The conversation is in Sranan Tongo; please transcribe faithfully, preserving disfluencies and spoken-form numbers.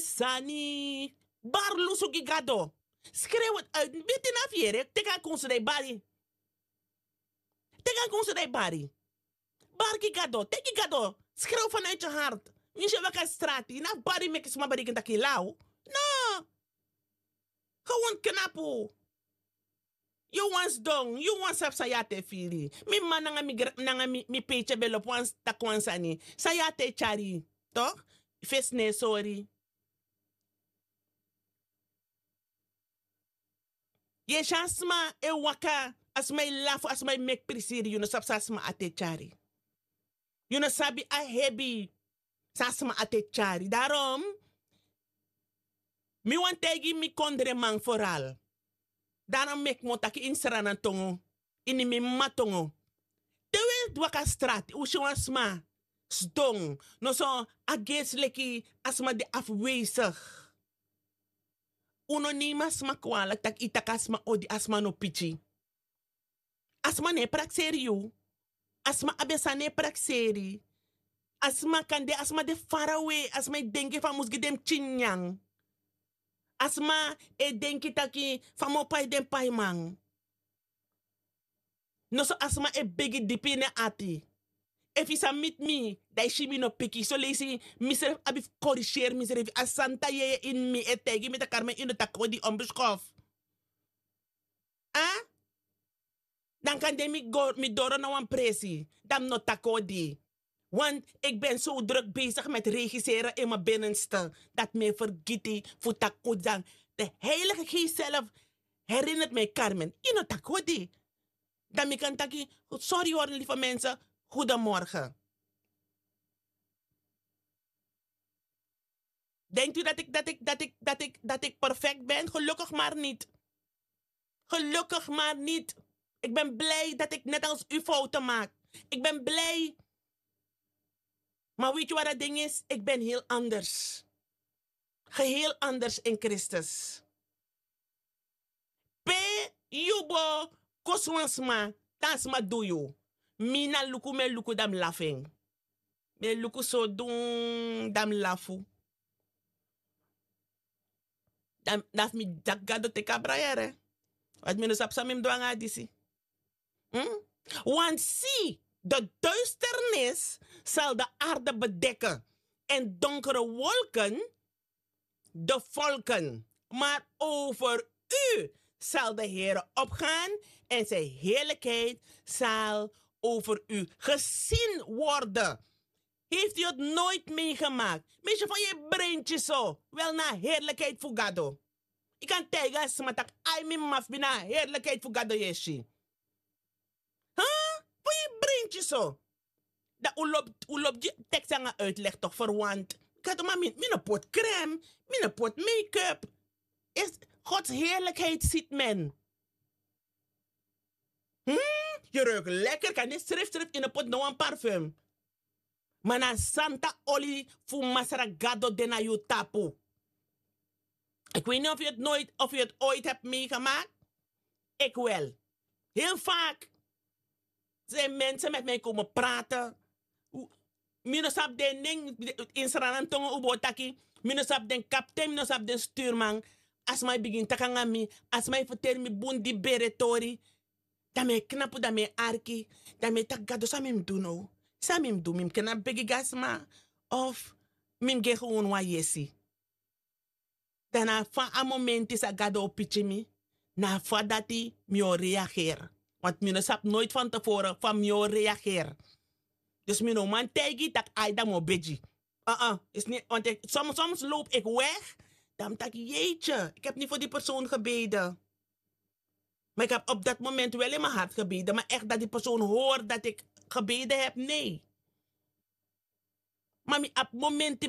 Sani. Bari lusu gi gado. Skrew iti uit. Biti na fu yere, teki a kunsu dan yu bari. Teki a kunsu dan yu bari. Bari gi gado, teki gado. Skrew vanuit yu hart. Mi si e waka strati, yu na fu bari meki sma bereiken tak' yu law. No. Gewon knapu. Yu wan sidon, yu wan sabi san yu ati e firi. Mi m'ma nanga mi gra- nanga mi mi peiti e ben lobi wan taki wan sani. San yu ati e tyari. Tok? Fesi no e sori. Yu e si a sma e waka, a sma e lafu, a sma e meki prisiri, yu no sabi san a sma ati e tyari. Yu no sabi a hebi san a sma ati e tyari. Darom mi wani taigi mi kondreman foral. Darom meki mi o taki ini sranantongo, ini mi m'ma tongo. Te un e waka strati un si wan sma sidon, noso a gersi leki a sma de afwezig. Un no neimi a sma kwalik tak' yu taki a sma odi, a sma no piki. A sma no e prakseri yu. A sma abi en sani e prakseri. A sma kan de, a sma de farawe, a sma e denki fa a mus gi den pikin nyanyan. A sma e denki taki fa a mu o pai den paiman. Noso a sma e begi dipi ini en ati. Efu yu sa miti mi, dan yu si mi no piki. Soleisi misrefi abi fu koriseri misrefi. A santa yeye ini mi e taigi mi tak' armen yu no taki odi, onbeskof. A? Dan kan de mi go mi doro na wan presi, dan mi no taki odi. Want ik ben zo druk bezig met regiseren in mi binnenste, dat mi e fergiti fu taki odi. Dan de heilige geest zelf herinnert mi, karmen, yu no taki odi. Dan mi kan taki, sorry hori lieve mensen, goedemorgen. Denkt u dat ik, dat ik, dat ik, dat ik, dat ik perfect ben? Gelukkig maar niet. Gelukkig maar niet. Ik ben blij dat ik net als u fouten maak. Ik ben blij. Maar weet je wat dat ding is? Ik ben heel anders. Geheel anders in Christus. Pe yu bo kosi wan sma, dan a sma du yu. Mi na luku mi e luku dan mi lafu en. Mi e luku so dun dan mi lafu. Dan dan fu mi daki gado teki a brayere. Wati mi no sabi san mi mus du nanga a disi. Want si, de duisternis zal de aarde bedekken en donkere wolken de volken, maar over u zal de Heere opgaan en zijn heerlijkheid zal over u gezien worden. Heeft u het nooit meegemaakt? Meisje van je breintje zo. Wel na heerlijkheid voor Gado. Ik kan tegen smatak ai mi maf bina heerlijkheid voor Gado yesi. Huh? Voor je breintje zo. Dan u loopt, u loopt je tekst aan uitleg toch verwant. Kijk, maar mi, mi no pot crème, mi no pot make-up. Is Gods heerlijkheid ziet men. Hmm? Je ruikt lekker, kan dit schrift schrift in de pot no een parfum. Maar na santa oli fu Masra Gado de na yu tapu. Ik weet niet of je het nooit, of je het ooit hebt meegemaakt. Ik wel. Heel vaak zijn mensen met mij komen praten. Mi no sabi den nen, in Sranan tongo un bo taki. Mi no sabi den kapten, mi no sabi den stuurman. A sma e bigin taki nanga mi, a sma e ferteri mi bun di bere tori. Dan mi e knapu, dan mi e arki. Dan mi e taki Gado san mi mus du now? San mi mus du? Mi mus knapu begi gi a sma? Of mi mus gi en gewon wan yesi? Dan na fa a momenti san Gado o piki mi, na fa dati mi o reageer. Want mi no sabi noit van te voren fa mi o reageer. Dus mi no man taigi tak' ai dan mi o begi. Soms loop ik weg, dan mi taki jeetje, ik heb niet voor die persoon gebeden. Maar ik heb op dat moment wel in mijn hart gebeden, maar echt dat die persoon hoort dat ik gebeden heb, nee. Maar mi abi momenti